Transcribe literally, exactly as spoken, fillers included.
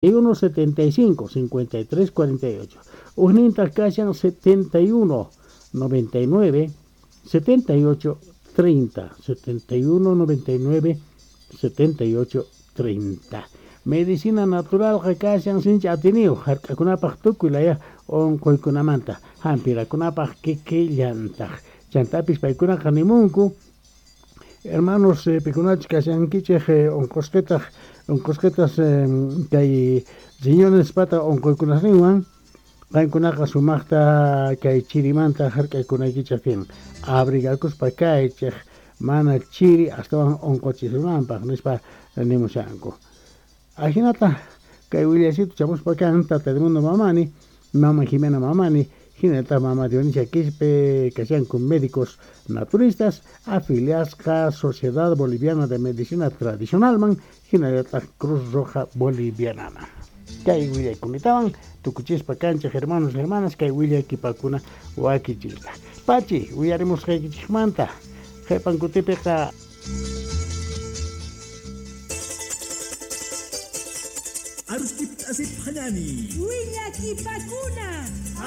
uno setenta y cinco, cincuenta y tres cuarenta y ocho. Ujnintaj kashan setenta y uno, noventa y nueve, setenta y ocho, treinta. setenta y uno, noventa y nueve, setenta y ocho, treinta. Medicina natural kashan sinchi atiniyu hark'akunapaj tukuy laya unquykunamanta hampirakunapaj kikillantaj. Chantapis paykunaqa nimunku hermanos eh, pikunachus kashankichej eh, unqusqitaq unqusqitas eh, kay riñones pata unquykunasninwan qankunaqa sumaqta kay chirimanta hark'akunaykichej tiyan abrigakuspa kaychej mana chiri astawan unquchisunanpaq nispa nimushanku. Ajinata kay willasito chamuspa kan Tata Edmundo Mamani, Mama Jimena Mamani, hinallataq Mama Dionisia Quispe kashanku médicos naturistas afiliasqa Sociedad Boliviana de Medicina Tradicionalman hinallataq Cruz Roja Bolivianaman. Kay willaykunatawan tukuchispa kanchej hermanos y hermanas kay willaykipakuna wakichiyta. Pachi, willarimusqaykichikmanta qhipan kutipiqa. Arustip asip hanani. Willakipakuna.